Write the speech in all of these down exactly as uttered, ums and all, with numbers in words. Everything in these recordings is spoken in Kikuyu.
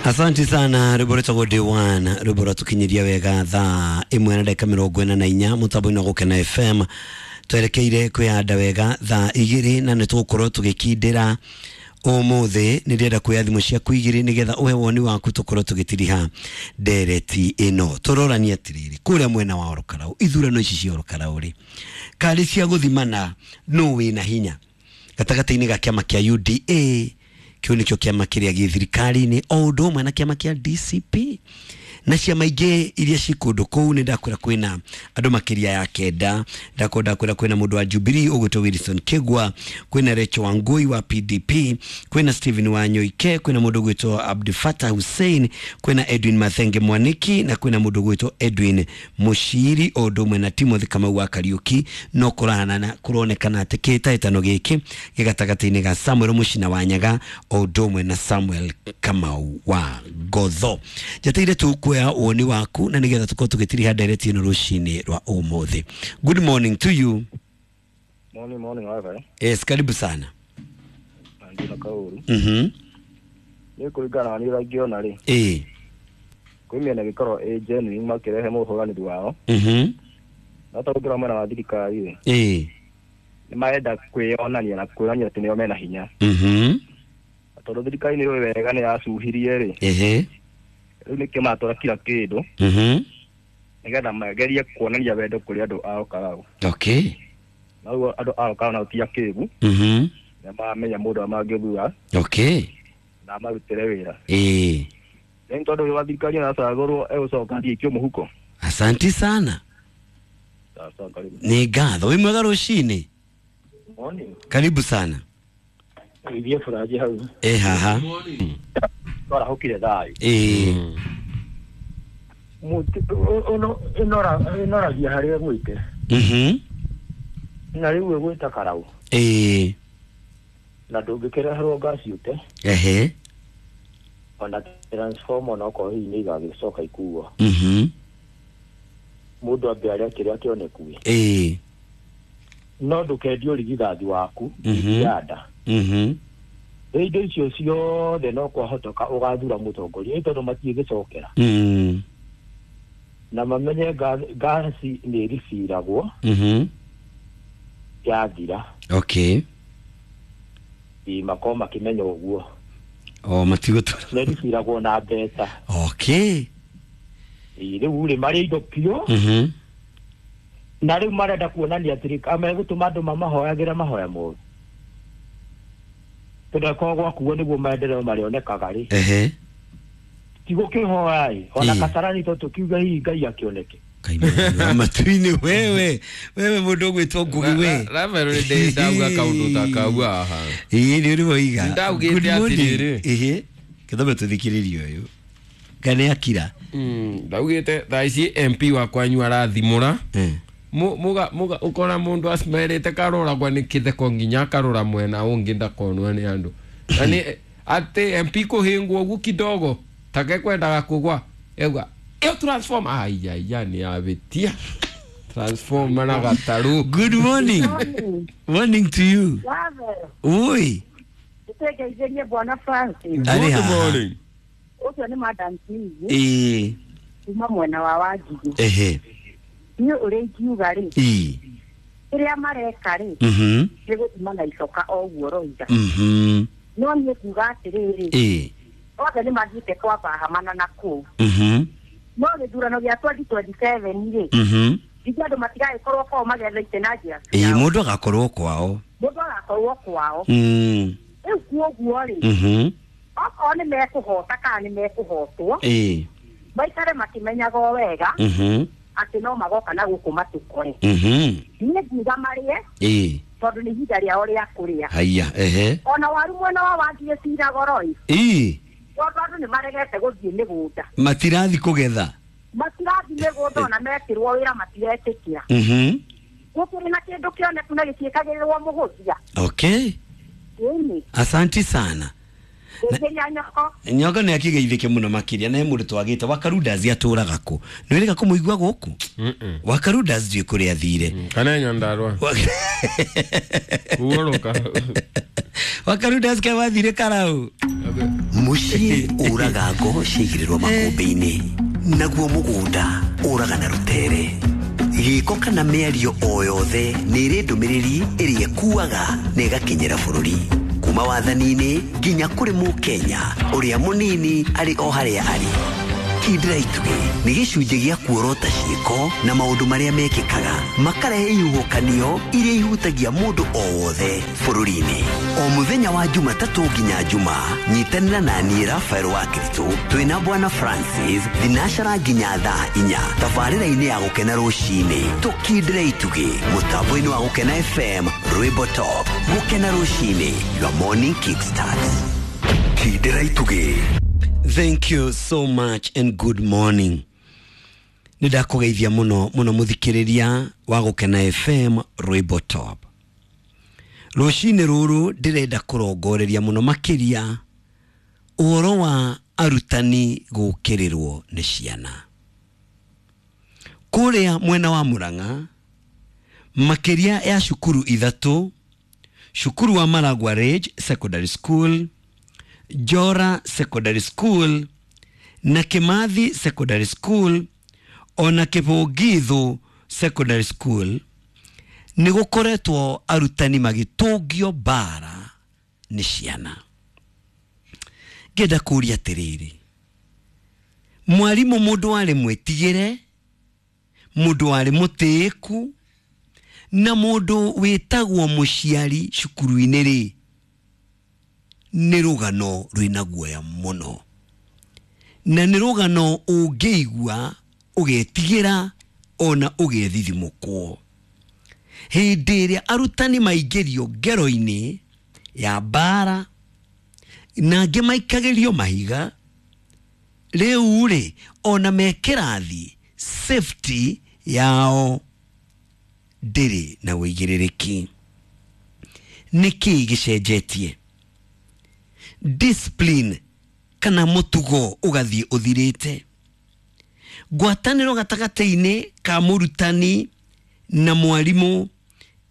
Asante sana rwimbo rwĩtagwo Day One, rwimbo rwatũkinyiria wega thaa ĩmwe na ndagĩka mĩrongo ĩna na inya mũtambo-inĩ wa Gũkena F M. Twerekeire kwĩyanda wega thaa igĩrĩ na nĩ tũgũkorwo tũgĩkindĩra ũmũthĩ. Nĩ ndĩrenda kuoya thimũ ciaku igĩrĩ nĩgetha ũhe woni waku tũkorwo tũgĩtiriha ndereti ĩno. Tũroranie atĩrĩrĩ, kũrĩa mwena wa Orokarau, ithurano ici cia Orokarau rĩ, karĩ cia gũthimana nũ wĩna hinya gatagatĩ-inĩ ga kĩama kĩa U D A, kĩu nĩkĩo kĩama kĩrĩa gĩ thirikari-inĩ, o ũndũ ũmwe na kĩama kĩa D C P na ciama ingĩ iria ci kũndũ kũu. Nĩ ndakwĩra kwĩna andũ makĩria ya kenda, ndakorwo ndakwĩra kwĩna mũndũ wa Jubilee ũgwĩtwo Wilson Kigwa, kwĩna Rachel Wangui wa P D P, kwĩna Stephen Wanyoike, kwĩna mũndũ ũgwĩtwo Abdi Fatah Hussein, kwĩna Edwin Mathenge Mwaniki na kwĩna mũndũ ũgwĩtwo Edwin Mushiri, o ũndũ ũmwe na Timothy Kamau wa Kariuki. No kũrahanana kũronekana atĩ kĩhĩtahĩtano gĩkĩ gĩ gatagatĩ-inĩ ga Samuel Muchina wa Nyaga o ũndũ ũmwe na Samuel Kamau wa Ngotho. Njeteire tu kuoya woni waku na nĩgetha tũkorwo tũgĩtiriha ndereti ĩno rũcinĩ rwa ũmũthĩ. Good morning to you. Morning, morning, wewe. Yes, karibu sana. Ndina kauru. Mhm. Ni kũringana na niĩ ũrĩa ingĩona rĩ. Eh. Kwĩ mĩena ĩgĩkorwo ĩ genuine makĩrehe mũhũranĩri wao. Mhm. No ta ũngĩrora mwena wa thirikari rĩ. Eh. Nĩ marenda kwĩyonania na kwĩonania atĩ nĩo mena hinya. Mhm. Tondũ thirikari nĩ yũĩ wega nĩ yacuhirie rĩ. Ehe. Rĩu nĩkĩo maratwara kila kĩndũ. Mhm. Nĩgetha magerie kuonania wendo kũrĩ andũ a Orokarau. Okay. Na ũguo andũ a Orokarau nao ti akĩgu. Mhm. Nĩ maramenya mũndũ ũrĩa mangĩthura. Okay. Na marutĩre wĩra. Eh. Rĩu tondũ ũyũ wa thirikari aracagũrwo egũcoka athiĩ aikio mũhuko. Asanti sana. Sawa sawa, karibu. Nĩ ngatho. Wĩ mwega rũcinĩ? Morning. Karibu sana. Ithiĩ bũranji hau. Eh, haha. Twarahũkire thayũ. Eh. Mũtĩ ũno ĩnora ĩnoragia harĩa ĩgwĩte. Mhm. Na rĩu ĩgwĩta karau. Eh. Na ndũngĩkĩreherwo ngaci ũte. Ehe. Ona transformer ona okorwo hihi nĩ igagĩcoka ikuo. Mhm. Mũndũ ambe arĩa kĩrĩa kĩoneku. Eh. No ndũkendie ũrigithathi waku Mhm. yanda. Mhm. Rĩu indo icio ciothe no kwahotoka ũgathura mũtongoria ĩ tondũ matiĩgĩcokera. Mm. Na mamenye ngaci nĩ ĩribiragwo. Mhm. Yathira. Okay. Ĩ makorwo makĩmenya ũguo. O matigũtũra. Nĩ ĩribiragwo na mbeca. Okay. Ĩ rĩu rĩ marĩ indo biũ. Mhm. Na rĩu marenda kuonania atĩrĩ megũtũma andũ mamahoyagĩre mahoya moru. Tondũ akorwo gwakuo nĩguo maendeleo marĩonekaga rĩ. Ehe. Ti gũkĩhoya ĩ, ona Ĩ. Kasarani to tũkiuge hihi Ngai akĩoneke. Kaimana matu-inĩ wewe, wewe mũndũ ũgwĩtwo Ngugi we. Rafael nĩ ndauga kaũndũ ta kau haha. Ĩ nĩ ũrĩ woiga. Ndaugĩte Good morning. atĩrĩrĩ. Ĩhĩ. Kĩthome tũthikĩrĩrie ũyũ. Kana nĩ akira. Mm, ndaugĩte thaa ici M P wa kwanyu arathimũra. Eh. Muga muga ukora mundu acimerite karoragwa nĩ kĩtheko nginya akarora mwena ũngĩ ndakonwo nĩ andũ. Na nĩ atĩ M P kũhĩngwo ũguo kidogo take kwendaga kũgwa egwa ĩyo transform ai ai ya nĩ abĩtia transform na gataru. Good morning. Morning to you. Oi. Nĩtwĩgeithĩrie Bwana Francis. Arĩ Good haha. morning. Ũcio nĩ Madam Kizi. Ĩĩ. Kuma mwena wa Wanjigũ. Ehe. Niĩ ũrĩa ingiuga rĩ, Ĩĩ. kĩrĩa mareka rĩ, Mhm. nĩ gũthima na icoka o ũguo roiga. Mhm. No niĩ nguga atĩrĩrĩ, Ĩĩ. othe nĩ mathiĩte kwambahamana na kũu. Mhm. No gĩthurano gĩa twenty twenty-seven rĩ, Mhm. ithuĩ andũ matigagĩkorwo kwao magĩetha itĩ na njĩra Ĩĩ, ciao. mũndũ agakorwo kwao. Mũndũ agakorwo kwao. Mm. Rĩu kuoguo rĩ, Mhm. okorwo nĩ mekũhota kana nĩ mekũhotwo, Ĩĩ. maikare makĩmenyaga o wega Mhm. atĩ no magoka na gũkũ matũkore. Mhm. Niĩ ngiuga marĩe Ĩĩ. tondũ nĩ ihinda rĩao rĩa kũrĩa. Haiya, ehe. Ona waru mwena wa Wanjigĩ ciragoro ĩ. Ĩĩ. Tondũ andũ nĩ maregete gũthiĩ mĩgũnda. Matirathi kũgetha. Matirathi mĩgũnda ona mekĩrwo wĩra matiretĩkĩra. Mhm. Gũkĩrĩ na kĩndũ kĩoneku na gĩtiĩkagĩrĩrwo mũhũthia. Okay. Ĩni. Asanti sana. Ngeithĩria nyoko. Nyoka nĩ akĩgeithĩke mũno makĩria na he mũndũ twagĩte Wakarundas atũraga kũ. Nĩ wĩrĩga kũmũigua gũkũ? Wakarundas ndiũĩ kũrĩa athire. Kana Nyandarua. Wa- Kuoroka. Wakaruda sika wathire karau. Muciĩ ũraga ngo ciaigĩrĩrwo makũmbĩ-inĩ, naguo mũgũnda ũraga na rũtere. Gĩko kana mĩario o yothe nĩ ĩrĩ ndũmĩrĩri ĩrĩa ĩkuaga na ĩgakinyĩra bũrũri. Kuma wathani-inĩ nginya kũrĩ mũkenya ũrĩa mũnini arĩ o harĩa arĩ. Kindĩra itugĩ nĩ gĩcunjĩ gĩa kuorota ciĩko na maũndũ marĩa mekĩkaga makarehe ihuhũkanio iria ihutagia mũndũ o wothe bũrũri-inĩ. O mũthenya wa Jumatatũ nginya Jumaa, nyitanĩra na niĩ Rafael wa Kristo twĩna Bwana Francis thinacara nginya thaa inya tabarĩra-inĩ ya Gũkena rũcinĩ. Tũkindĩre itugĩ mũtambo-inĩ wa Gũkena F M, Rwĩmbo Top. Gũkena rũcinĩ, your morning kickstart. Kindĩra itugĩ. Thank you so much and good morning. Nĩndakũgeithia mũno mũno mũthikĩrĩria wa Gũkena F M, Rwĩmbo Top. Rũcinĩ rũrũ ndĩrenda kũrongoreria mũno makĩria ũhoro wa arutani gũkĩrĩrwo nĩ ciana. Kũrĩa mwena wa Murang'a, makĩria ya cukuru ithatũ, cukuru wa Maragua Ridge Secondary School, Jora Secondary School na Kimathi Secondary School ona Kibũngithu Secondary School, nĩ gũkoretwo arutani magĩtũngio mbara nĩ ciana. Ngĩenda kũũria atĩrĩrĩ, mwarimũ mũndũ warĩ mwĩtigĩre, mũndũ warĩ mũtĩĩku na mũndũ wĩtagwo mũciari cukuru-inĩ rĩ, nĩ rũgano rwĩna guoya mũno, na nĩ rũgano ũngĩigua ũgetigĩra ona ũgethithimũkwo. Hĩndĩ ĩrĩa arutani maingĩrio ngero-inĩ ya mbara na angĩ maikagĩrio mahiga, rĩu rĩ ona me kĩrathi safety yao ndĩrĩ na ũigĩrĩrĩki. Nĩkĩĩ gĩcenjetie? Discipline kana mũtugo ũgathiĩ ũthirĩte. Ngwatanĩro gatagatĩ-inĩ ka mũrutani na mwarimũ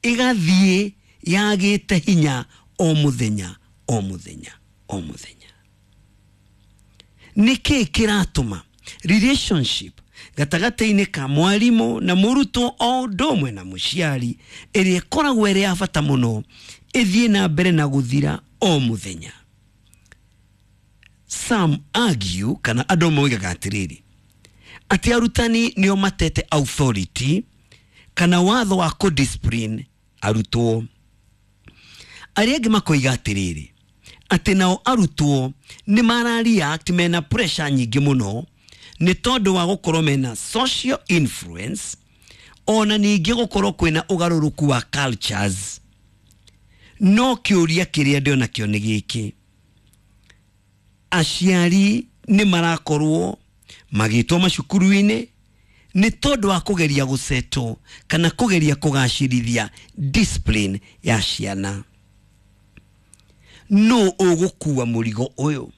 ĩgathiĩ yagĩte hinya o mũthenya o mũthenya o mũthenya. Nĩkĩĩ kĩratũma relationship gatagatĩ-inĩ ka mwarimũ na mũrutwo o ũndũ ũmwe na mũciari ĩrĩa ĩkoragwo ĩrĩ ya bata mũno ĩthiĩ na mbere na gũthira o mũthenya? Some argue kana andũ moigaga atĩrĩrĩ, atĩ arutani nĩo matete authority kana watho wa kũ-discipline arutwo. Arĩa angĩ makoiga atĩrĩrĩ, atĩ nao arutwo nĩ mara react mena pressure nyingĩ mũno nĩ tondũ wa gũkorwo mena social influence, ona ningĩ gũkorwo kwĩna ũgarũrũku wa cultures. No kĩũria kĩrĩa ndĩona kĩo nĩ gĩkĩ, aciari nĩ marakorwo magĩtwo macukuru-inĩ nĩ tondũ wa kũgeria gũsetwo kana kũgeria kũgacĩrithia discipline ya ciana. No ũgũkua mũrigo ũyũ?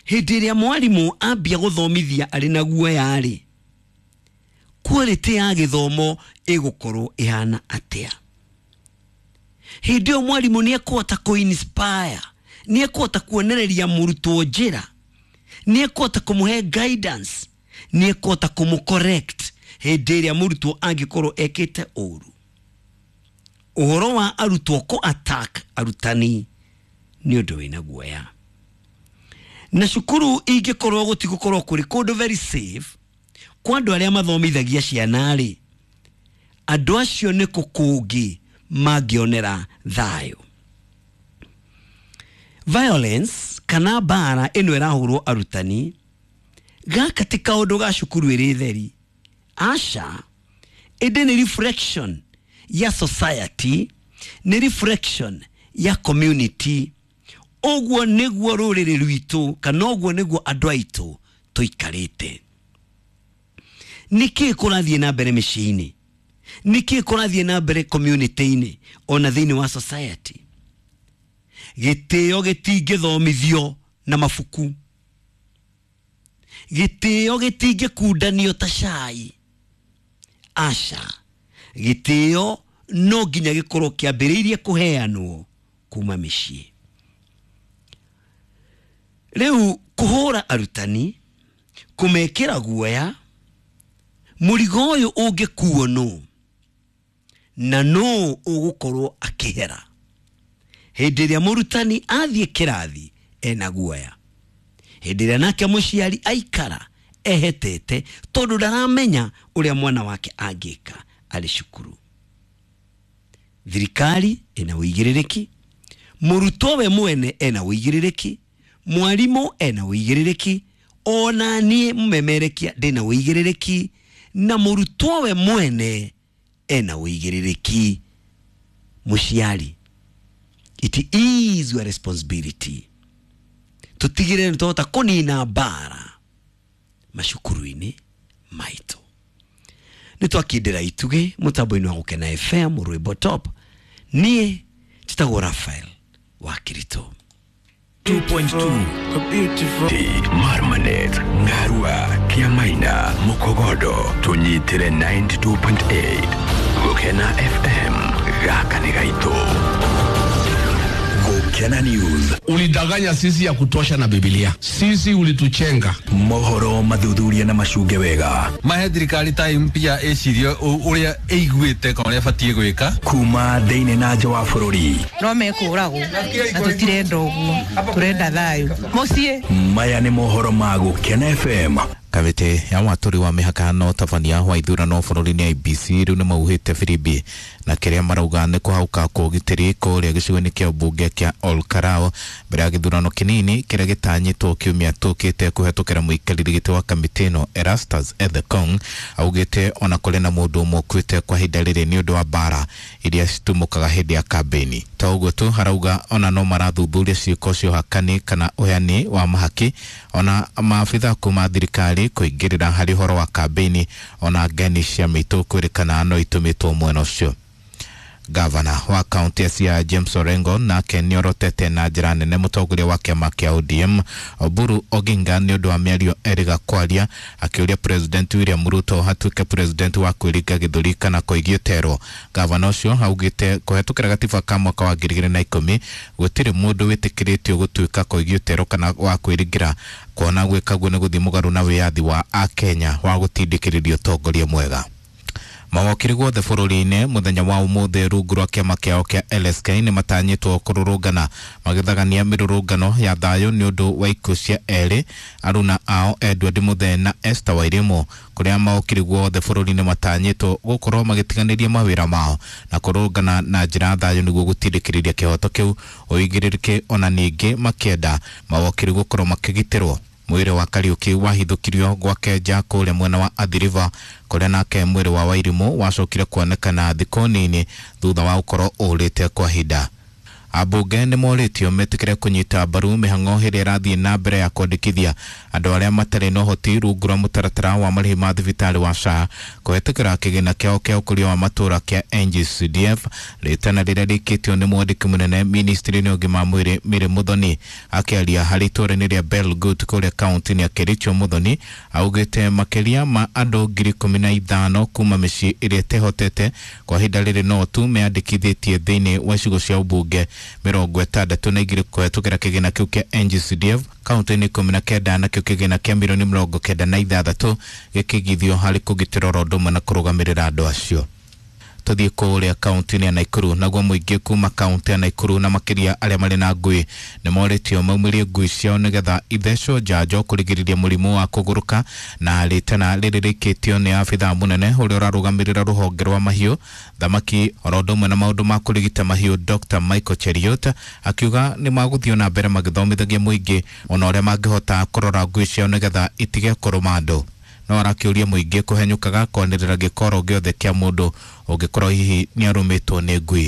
Hĩndĩ ĩrĩa mwarimũ ambia gũthomithia arĩ na guoya rĩ, quality ya gĩthomo ĩgũkorwo ĩhana atĩa? Hĩndĩ ĩyo mwarimũ nĩ ekũhota kũ-inspire, nĩ ekũhota kuonereria mũrutwo njĩra, nĩ ekũhota kũmũhe guidance, nĩ ekũhota kũmũ-correct hĩndĩ ĩrĩa mũrutwo angĩkorwo ekĩte ũru. Ũhoro wa arutwo kũ-attack arutani nĩ ũndũ wĩna guoya. Na cukuru ingĩkorwo gũtigũkorwo kũrĩ kũndũ very safe kwa andũ arĩa mathomithagia ciana rĩ, andũ acio nĩ kũ kũngĩ mangĩonera thayũ? Violence kana mbara ĩno ĩrahũrwo arutani, gaka ti kaũndũ ga cukuru ĩrĩ theri, aca, ĩndĩ nĩ reflection ya society, nĩ reflection ya community. Ũguo nĩguo rũrĩrĩ rwitũ kana ũguo nĩguo andũ aitũ tũikarĩte. Nĩkĩĩ kũrathiĩ na mbere mĩciĩ-inĩ? Nĩkĩĩ kũrathiĩ na mbere community-inĩ ona thĩinĩ wa society? Gĩtĩo gĩtingĩthomithio na mabuku, gĩtĩo gĩtingĩkundanio ta cai, aca, gĩtĩo no nginya gĩkorwo kĩambĩrĩirie kũheanwo kuma mĩciĩ. Rĩu kũhũra arutani, kũmekĩra guoya, mũrigo ũyũ ũngĩkuo nũ na nũ ũgũkorwo akĩhera hĩndĩ ĩrĩa mũrutani athiĩ kĩrathi ena guoya, hĩndĩ ĩrĩa nake mũciari aikara ehetete tondũ ndaramenya ũrĩa mwana wake angĩka arĩ cukuru. Thirikari ĩna ũigĩrĩrĩki, mũrutwo we mwene ena ũigĩrĩrĩki, mwarimũ ena ũigĩrĩrĩki, ona niĩ mũmemerekia ndĩna ũigĩrĩrĩki, na mũrutwo we mwene ena ũigĩrĩrĩki. Mũciari, it is your responsibility tutigire nĩ kũnina mbara macukuru-inĩ maitũ. Nĩ twakindĩra itugĩ mũtambo-inĩ wa Gũkena F M rwĩmbo top. Niĩ njĩtagwo Raphael wa Kirito. two point two Marmanet, Ngarua, Kiamaina, Mukogodo, tunyitire ninety-two point eight Gũkena F M gaka nĩ gaitũ. Gũkena News. Ulidanganya sisi ya kutosha na Biblia. Sisi ulituchenga. Mohoro mathuthuria na macunge wega. Mahe thirikari ta mpya ecirie uria iguite kana uria batie gwika. Kuma thiini na nja wa bururi. No mekũragwo na tutirenda ũguo, turenda thayũ. Mũciĩ. Maya nĩ mohoro ma Gũkena F M. Kamĩtĩ ya watũri wa mĩhaka na ũtabania wa ithurano bũrũri-inĩ I B C rĩu nĩmauhĩte firimbi na kĩrĩa marauga nĩ kũhauka kwa ũgitĩri kũrĩa gĩcigo-inĩ kĩa ũmbunge kĩa Ol Kalou mbere ya gĩthurano kĩnini kĩrĩa gĩtanyĩtwo kiumia tũkĩte kũhetũkĩra mũikarĩri gĩtĩ wa kamĩtĩ ĩno Erastus Ethekong augĩte ona kũrĩ na mũndũ ũmwe ũkuĩte kwa ihinda rĩrĩ nĩ ũndũ wa mbara iria citumũkaga hĩndĩ ya kambĩini. To ũguo tu, harauga ona no marathuthuria ciĩko cia ũhakani kana ũheani wa mahaki ona maabitha kuma thirikari kũingĩrĩra harĩ ũhoro wa kambĩini ona ngeni cia mĩitũ kwĩrĩkana no itũmĩtwo mwena ũcio. Gavana wa kaunti ya Siaya James Orengo nake nĩorotete na njĩra nene mũtongoria wa kĩama kĩa O D M Oburu Oginga nĩ ũndũ wa mĩario erĩga kwaria akĩũria President William Ruto hatuĩke president wa kwĩringa gĩthũri kana kũigio terwo. Gavana ũcio augĩte kũhetũkĩra gatiba ka mwaka wa ngiri igĩrĩ na ikũmi gũtirĩ mũndũ wĩtĩkĩrĩtio gũtuĩka kũigio terwo kana wa kwĩringĩra kuona gwĩka guo nĩ gũthiĩ mũgarũ na wĩyathi wa Akenya wa gũtindĩkĩrĩria ũtongoria mwega. Mawakiri guothe bũrũri-inĩ mũthenya wa ũmũthĩ rungu rwa kĩama kĩao kĩa L S K nĩ matanyĩtwo kũrũrũngana magĩthagania mĩrũrũngano ya thayũ nĩ ũndũ wa ikuũ cia erĩ aruna ao Edward Muthee na Esther Wairimu kũrĩa mawakiri guothe bũrũri-inĩ matanyĩtwo gũkorwo magĩtiganĩria mawĩra mao na kũrũrũngana na njĩra ya thayũ nĩguo gũtindĩkĩrĩria kĩhoto kĩu ũigĩrĩrĩke ona ningĩ makĩenda mawakiri gũkorwo makĩgitĩrwo. Mwĩrĩ wa Kariuki wahithũkirio gwake nja kũrĩa mwena wa Athi River kũrĩa nake mwĩrĩ wa Wairimu wacokire kuonekana thikũ nini thutha wa gũkorwo ũrĩte kwa ihinda. Ambunge nĩ morĩtio metĩkĩre kũnyita mbaru mĩhang'o ĩrĩa ĩrathiĩ na mbere ya kwandĩkithia andũ arĩa matarĩ na ũhoti rungu rwa mũtaratara wa marĩhi ma thibitarĩ wa S H A kũhetũkĩra kĩgĩna kĩao kĩa ũkũria wa matũũra kĩa N G C D F rĩtana rĩrĩa rĩkĩtio nĩ mwandĩki mũnene ministry-inĩ ũgima wa mwĩrĩ Mary Muthoni. Akĩaria harĩ itũũra-inĩ rĩa Belgut kũrĩa kaunti-inĩ ya Kericho, Muthoni augĩte makĩria ma andũ ngiri ikũmi na ithano kuma mĩciĩ ĩrĩa ĩtehotete kwa ihinda rĩrĩ no tu meyandĩkithĩtie thĩinĩ wa icigo cia ũmbunge mĩrongo ĩtandatũ na igĩrĩ kũhetũkĩra kĩgĩna kĩu kĩa N G C D F kaunti-inĩ ikũmi na kenda nakĩo kĩgĩna kĩa mirioni mĩrongo kenda na ithathatũ gĩkĩigithio harĩ kũgitĩra oro ũndũ ũmwe na kũrũgamĩrĩra andũ acio. Tũthiĩ kũrĩa kaunti-inĩ ya Nakuru naguo mũingĩ kuma kaunti ya Nakuru na makĩria arĩa marĩ na ngui nĩ morĩtio maumĩrie ngui ciao nĩgetha ithecwo njanjo kũrigĩrĩria mũrimũ wa kũgũrũka na rĩtana rĩrĩ rĩkĩtio nĩ abithaa mũnene ũrĩa ũrarũgamĩrĩra rũhonge rwa mahiũ thamaki oro ũndũ ũmwe na maũndũ ma kũrigita mahiũ Doctor Michael Cheruiyot akiuga nĩ magũthiĩ na mbere magĩthomithagia mũingĩ ona ũrĩa mangĩhota kũrora ngui ciao nĩgetha itige kũrũma andũ. No arakĩũria mũingĩ kũhenyũkaga kwanĩrĩra gĩkoro gĩothe kĩa mũndũ ũngĩkorwo hihi nĩarũmĩtwo nĩ ngui.